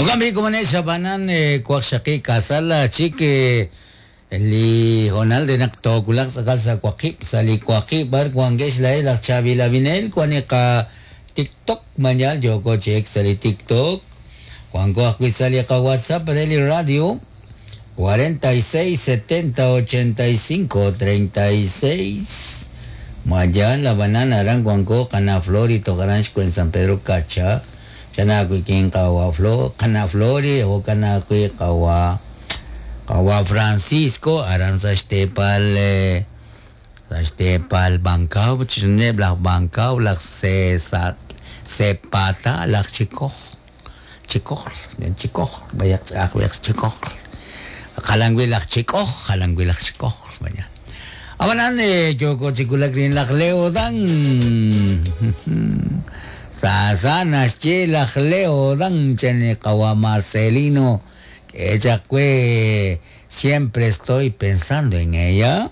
Jo'kan b'i' komonex ab'anan waqxaqib' ka'sal chik li hoonal re naq toowulaq tz'aqal sa' waqib' sa' li waqib' b'ar wankex laa'ex laj chaab'il ab'inel wan li qa TikTok mañal yooko chi ek sa' li TikTok wanko ajwi' sa' li qa WhatsApp re li radio 46 70 85 36 Mayal ab'anan aran wanko qana' Flori toj aran xwen San Pedro Cacha chana ajwi' qawa' Flo qana' Flori jo'kan ajwi' qawa' qawa' Francisco aran sa' xteepal sa' xteepal Bancao chixjunileb' laj Bancao laj Sepata laj Chikoj Chikoj Chikoj b'ayaq ch'a'aj b'ayaq Chikoj jalan wi' laj Chik'oj jalan wi' laj Chikoj mañana ab'anan yooko chi wulak rik'in laj Leo Dan sa sa naxye laj Leo Dan chan li qawa' Marcelino k'e chaq we siempre estoy pensando en ella.